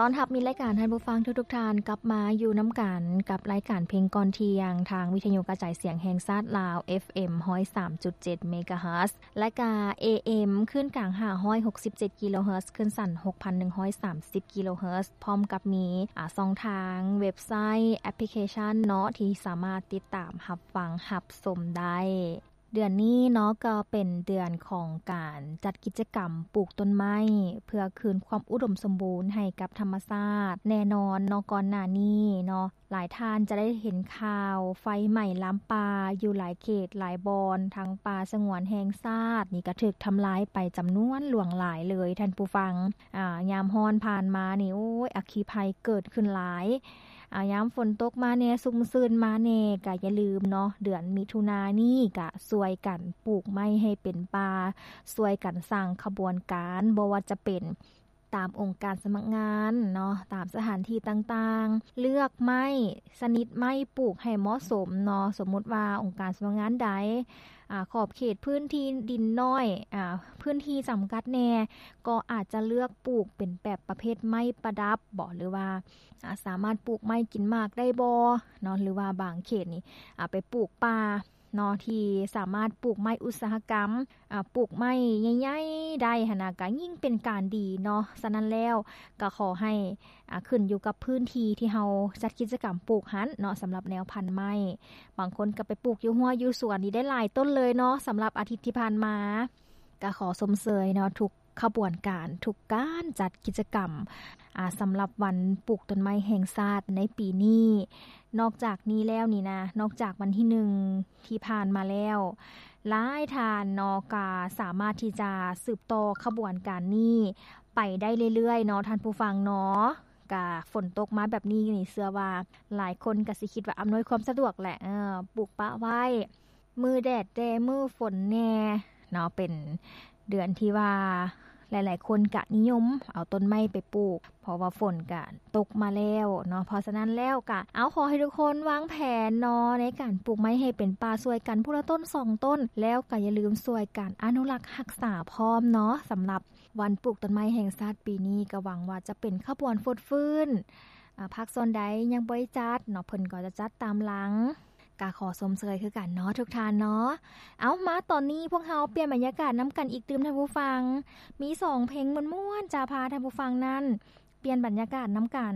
ຕ້ອນຮັບມິດລາຍການທ່ານຜູ້ຟັງທຸກໆທ່ານ ກັບມາຢູ່ນຳກັນກັບລາຍການເພງກ່ອນທ່ຽງ ທາງວິທະຍຸກະຈາຍສຽງແຫ່ງຊາດລາວ ເອຟເອັມ ຮ້ອຍສາມຈຸດເຈັດ ເມກາເຮີດ ແລະກະ ເອເອັມ ຄື້ນກາງ ຫ້າຮ້ອຍຫົກສິບເຈັດ ກິໂລເຮີດ ຄື້ນສັ້ນ ຫົກພັນໜຶ່ງຮ້ອຍສາມສິບ ກິໂລເຮີດ ພ້ອມກັບມີ ອາ ຊ່ອງທາງເວັບໄຊ ແອັບພລິເຄຊັນເນາະ ທີ່ສາມາດຕິດຕາມຮັບຟັງຮັບຊົມໄດ້. ເດືອນນີ້ເນາະ ກໍເປັນເດືອນຂອງການຈັດກິດຈະກຳປູກຕົ້ນໄມ້ ເພື່ອຄືນຄວາມອຸດົມສົມບູນໃຫ້ກັບທຳມະຊາດ. ແນ່ນອນເນາະ ກ່ອນໜ້ານີ້ເນາະ ຫຼາຍທ່ານຈະໄດ້ເຫັນຂ່າວໄຟໄໝ້ລາມປ່າຢູ່ຫຼາຍເຂດຫຼາຍບ່ອນ ທັງປ່າສະຫງວນແຫ່ງຊາດນີ້ກໍຖືກທຳລາຍໄປຈຳນວນຫຼວງຫຼາຍເລີຍທ່ານຜູ້ຟັງ. ອາ ຍາມຮ້ອນຜ່ານມານີ້ ໂອ້ຍ ອັກຄີໄພເກີດຂຶ້ນຫຼາຍ. ອາ ຍາມຝົນຕົກມາແດ່ ຊຸ່ມຊື່ນມາແດ່ ກະຢ່າລືມເນາະ ເດືອນມິຖຸນານີ້ກະຊ່ວຍກັນປູກໄມ້ໃຫ້ເປັນປ່າ, ຊ່ວຍກັນສ້າງຂະບວນການ ບໍ່ວ່າຈະເປັນຕາມອົງການສະໝັກງານເນາະ, ຕາມສະຖານທີ່ຕ່າງໆ, ເລືອກໄມ້ຊະນິດໄມ້ປູກໃຫ້ເໝາະສົມເນາະ. ສົມມຸດວ່າອົງການສະໝັກງານໃດ ອາ ຂອບເຂດພື້ນທີ່ດິນນ້ອຍ ອາ ພື້ນທີ່ຈຳກັດແດ່ ກໍອາດຈະເລືອກປູກເປັນແບບປະເພດໄມ້ປະດັບບໍ ຫຼືວ່າ ອາ ສາມາດປູກໄມ້ກິນໝາກໄດ້ບໍເນາະ ຫຼືວ່າບາງເຂດນີ້ ອາ ໄປປູກປ່າເນາະ ທີ່ສາມາດປູກໄມ້ອຸດສາຫະກຳ ອາ ປູກໄມ້ໃຫຍ່ໆໄດ້ຫັ້ນນະ ກະຍິ່ງເປັນການດີເນາະ. ສະນັ້ນແລ້ວ ກະຂໍໃຫ້ ອາ ຂຶ້ນຢູ່ກັບພື້ນທີ່ທີ່ເຮົາຈັດກິດຈະກຳປູກຫັ້ນເນາະ ສຳລັບແນວພັນໄມ້. ບາງຄົນກໍໄປປູກຢູ່ຮົ້ວຢູ່ສວນນີ້ໄດ້ຫຼາຍຕົ້ນເລີຍເນາະ. ສຳລັບອາທິດທີ່ຜ່ານມາ ກໍຂໍຊົມເຊີຍເນາະ ທຸກຂະບວນການ ທຸກການຈັດກິດຈະກຳ ອາ ສຳລັບວັນປູກຕົ້ນໄມ້ແຫ່ງຊາດໃນປີນີ້. ນອກຈາກນີ້ແລ້ວນີ້ນະ ນອກຈາກວັນທີໜຶ່ງທີ່ຜ່ານມາແລ້ວ ຫຼາຍທ່ານເນາະ ກໍສາມາດທີ່ຈະສືບຕໍ່ຂະບວນການນີ້ໄປໄດ້ເລື້ອຍໆເນາະ ທ່ານຜູ້ຟັງເນາະ. ກະຝົນຕົກມາແບບນີ້ນີ້ ເຊື່ອວ່າຫຼາຍຄົນກະຊິຄິດວ່າອຳນວຍຄວາມສະດວກແຫຼະ ເອີ ປູກປະໄວ້ ມື້ແດດແດ່ ມື້ຝົນແດ່ເນາະ. ເປັນເດືອນທີ່ວ່າຫຼາຍໆຄົນກະນິຍົມເອົາຕົ້ນໄມ້ໄປປູກ ເພາະວ່າຝົນກະຕົກມາແລ້ວເນາະ. ເພາະສະນັ້ນແລ້ວກະ ເອົາ ຂໍໃຫ້ທຸກຄົນວາງແຜນເນາະ ໃນການປູກໄມ້ໃຫ້ເປັນປ່າ ຊ່ວຍກັນຜູ້ລະຕົ້ນສອງຕົ້ນ ແລ້ວກະຢ່າລືມຊ່ວຍກັນອະນຸລັກຮັກສາພ້ອມເນາະ. ສຳລັບ ວັນປູກຕົ້ນໄມ້ແຫ່ງຊາດປີນີ້ ກໍຫວັງວ່າຈະເປັນຂະບວນຟົດຟື້ນ. ອາ ພາກສ່ວນໃດຍັງບໍ່ໄດ້ຈັດເນາະ ເພິ່ນກໍຈະຈັດຕາມຫຼັງ. ກະຂໍຊົມເຊີຍຄືກັນເນາະ ທຸກທ່ານເນາະ. ເອົາ ມາຕອນນີ້ພວກເຮົາປ່ຽນບັນຍາກາດນຳກັນອີກຕື່ມ ທ່ານຜູ້ຟັງ. ມີສອງເພງມ່ວນໆ ຈະພາທ່ານຜູ້ຟັງນັ້ນປ່ຽນບັນຍາກາດນຳກັນ.